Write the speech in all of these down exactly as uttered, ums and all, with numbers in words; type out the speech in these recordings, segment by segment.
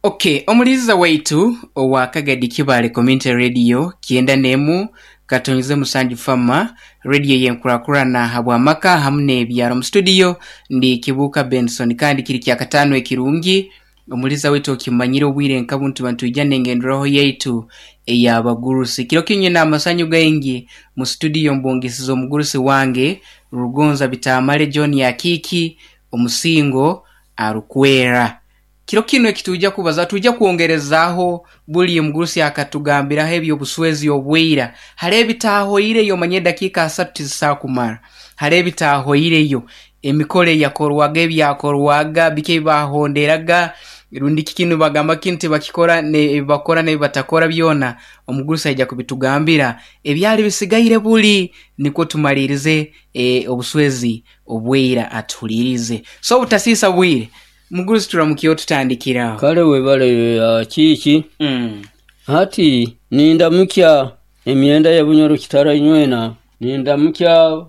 Okay, omuliiza waitu owa Kagadi Kibaale Community Radio kyenda n'emu katonyize musanju Fama radio yenkurakurana habw'amaka hamu n'ebyaro. Mu studio ndi Kibuuka Benson, kandi kiri kyakataano ekirungi. Omuliiza waitu okimanyire obwire nka bunu tuba nitwija n'engenderaho yaitu ey'abagurusi. Kiro kinu nyina amasanyu gaingi mu studio mbungisize omugurusi wange Rugonza Bitamale John Akiiki omusingo arukwera. Kiro kinu ekitwija kubaza, twija kwongerezaaho buli omugurusi akatugambiraho eby'obuswezi obwira. Hariho ebitaahoireyo, omanye edakiika asatu tizisakumara. Hariho ebitaahoireyo, emikoro eyakorwaga, ebyakorwaga, biki ebibahonderaga, rundi kiki bagamba kinu tibakikora, ebibakora n'ebibatakora byona omugurusi aija kubitugambira ebyali bisigaire buli, nikwo tumaliirize e, obuswezi obwira atuhuliirize. So obutasiisa bwire, mugurusi turamukyeho tutandikiraho. Kale webale Akiiki. Mm. Hati nindamukya emyenda ya Bunyoro Kitara inywena, nindamukya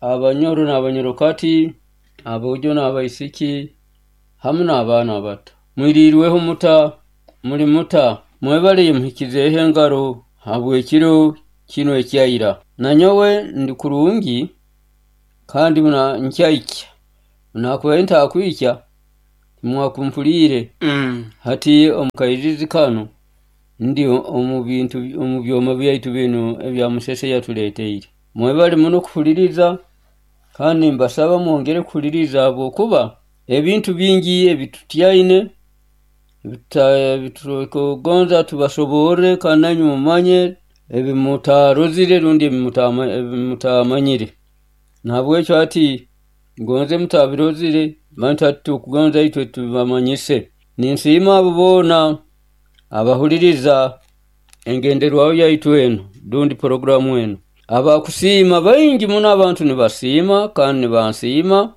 Abanyoro n'Abanyorokati, aboojo n'abaisiki hamu n'abaana abato. Mwiriirweho muta, muli muta, mwebale muhikizeeho engaro habw'ekiro kinu ekyaira. Nanyowe ndi kurungi kandi muna nkyaikya, nakubaire ntakwikya timwakumpuliire. Mm. Hati omu kairizi kanu ndi omu bintu omu byoma byaitu binu ebya Musese yatuleeteire. Mwebale muno kuhuliriza, kandi mbasaba mwongere kuhuliriza habwokuba ebintu bingi ebitutyaine ebitukugonza tubasoborre, kandi nanywe mumanye ebimutarozire rundi ebimutamanyire. Nahabwekyo hati gonze mutabirozire, baitu hati tukugonza itwe tubamanyise. Ninsiima abo boona abahuliriza engenderwaho yaitu enu rundi poroguramu enu. Abakusiima baingi muno, abantu nibasiima kandi nibansiima.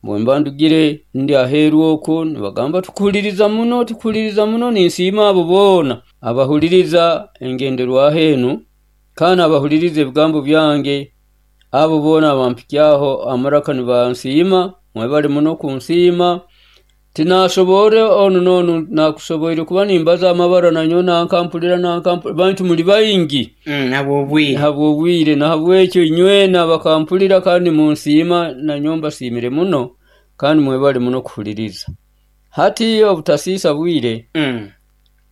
Bwemba ndugire ndi aheeru okwo nibagamba tukuhuliriza muno, tukuhuliriza muno. Ninsiima abo boona abahuliriza engenderwaho enu kandi abahuliriza ebigambo byange. Abo boona abampikyaho amaraka nibansiima, mwebale muno kunsiima. Tinasobore onu n'onu nakusoboire kuba nimbaza amabara nanyowe nankampulira nankampulira, baitu muli baingi. Mm, habw'obwire. Habw'obwire, nahabwekyo inywena bakampulira kandi munsiima, nanyowe mbasiimire muno kandi mwebale muno kuhuliriza. Hati obutasiisa bwire, Mm.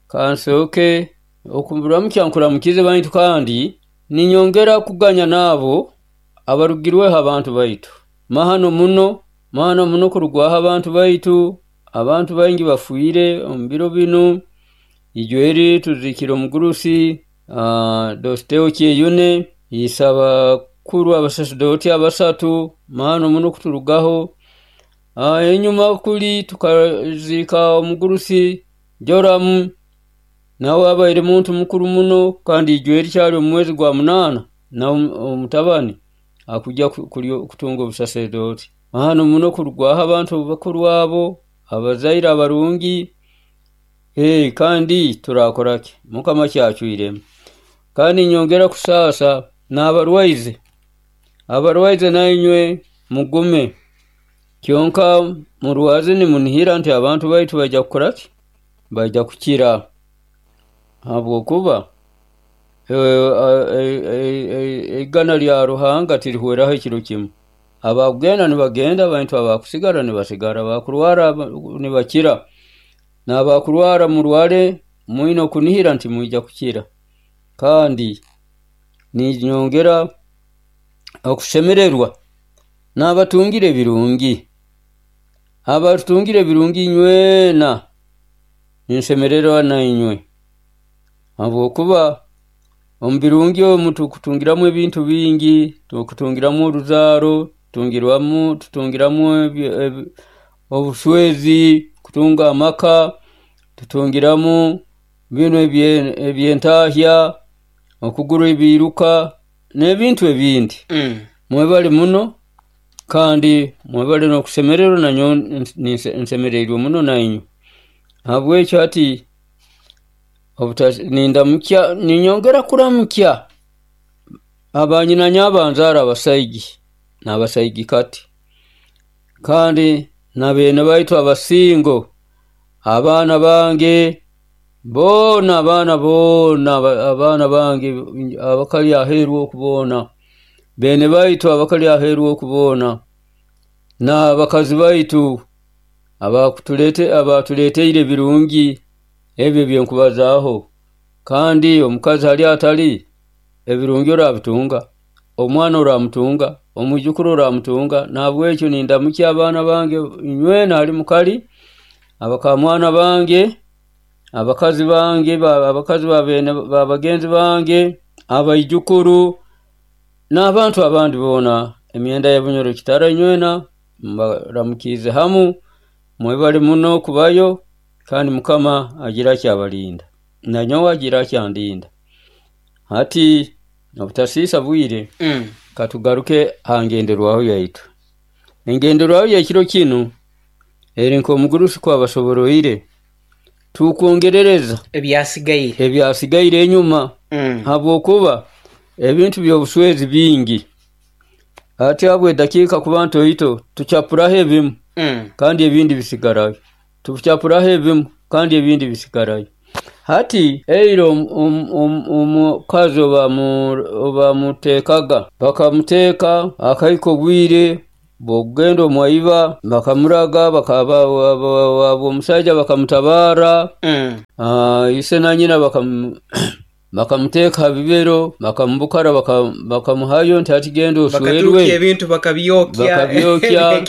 kansooke okuramukya nkuramukize baitu kandi ninyongera kuganya n'abo abarugirweho abantu baitu. Mahano muno, mahano muno kurugwaho abantu baitu. Abantu baingi bafiire omu biro binu. Ijweri tuziikire omugurusi uh, Dositeo Kyeyune, ise abakuru abasasedooti abasatu, mahano muno kuturugaho. Uh, enyuma kuli tukaziika omugurusi Joramu, nawe abaire muntu mukuru muno, kandi ijweri kyali omu mwezi gwa munaana na omutabani akujja kutunga obusasedooti. Mahano muno kurugwaho abantu bakuru abo, abazaire abarungi. Hey, kandi turakoraki, Mukama kyacwiremu. Kandi nyongera kusaasa n'abarwaize, abarwaize nainywe mugume, kyonka murwaze nimunihira nti abantu baitu baija kukoraki, baija kukira, habwokuba eigana lya Ruhanga tirihweraho ekiro kimu. Abakugenda nibagenda, baitu abakusigara nibasigara, abakurwara nibakira, n'abakurwara murware mwine okunihira nti mwija kukira. Kandi ninyongera okushemererwa n'abatungire ebirungi, abatungire ebirungi inywena ninsemererwa nainywe, habwokuba omu birungi omu tukutungiramu ebintu bingi, tukutungiramu oruzaaro, tutungiramu tutungiramu obuswezi, kutunga amaka, tutungiramu binu ebyentahya, okugura ebiiruka n'ebintu ebindi. Mm. Mwebale muno kandi mwebale n'okusemererwa, nanyowe nsemereirwe muno nainywe. Habwekyo hati nindamukya, ninyongera kuramukya abanyina abanzaara abasaigi n'abasaigi kati, kandi n'abeene baitu abasingo Abaana bange boona, abaana boona, abaana bange abakali aheeru oku boona, beene baitu abakali aheeru oku boona, n'abakazi baitu abakutulete abatuleeteire ebirungi ebi ebyenkubazaaho. Kandi omukazi hali atali, ebirungi orabitunga, omwana oramutunga, omwijukuru oramutunga. Nahabwekyo nindamukya abaana bange inywena hali mukali, abakamwana bange, abakazi bange, abakazi ba bagenzi bange, abaijukuru n'abantu abandi boona. Emyenda ya Bunyoro Kitara inywena mbaramukiize hamu, mwebale muno kubayo, kandi Mukama agira akyabalinda, nanyowe agira akyandinda. Hati obutasiisa bwire, Mm. katugaruke ha ngenderwaho yaitu. Engenderwaho y'ekiro kinu eri nk'omugurusi kwabasoboroire, tukwongerereza ebyasigaire ebyasigaire enyuma, Mm. habwokuba ebintu by'obuswezi bingi. Hati habwe dakiika kuba ntoito, tucapuraho ebimu Mm. kandi ebindi bisigarayo, tucapuraho ebimu kandi ebindi bisigarayo. Hati eira omukazi obamuteekaga, bakamuteeka akahika obwire bw'okugenda omwaiba, bakamuraga, omusaija bakamutabaara, Mm. ise na nyina bakamuteeka ha bibero, bakamubukara, bakamuhayo nti hati genda oswerwe. Bakatuukya ebintu bakabyokya. Bakabyokya.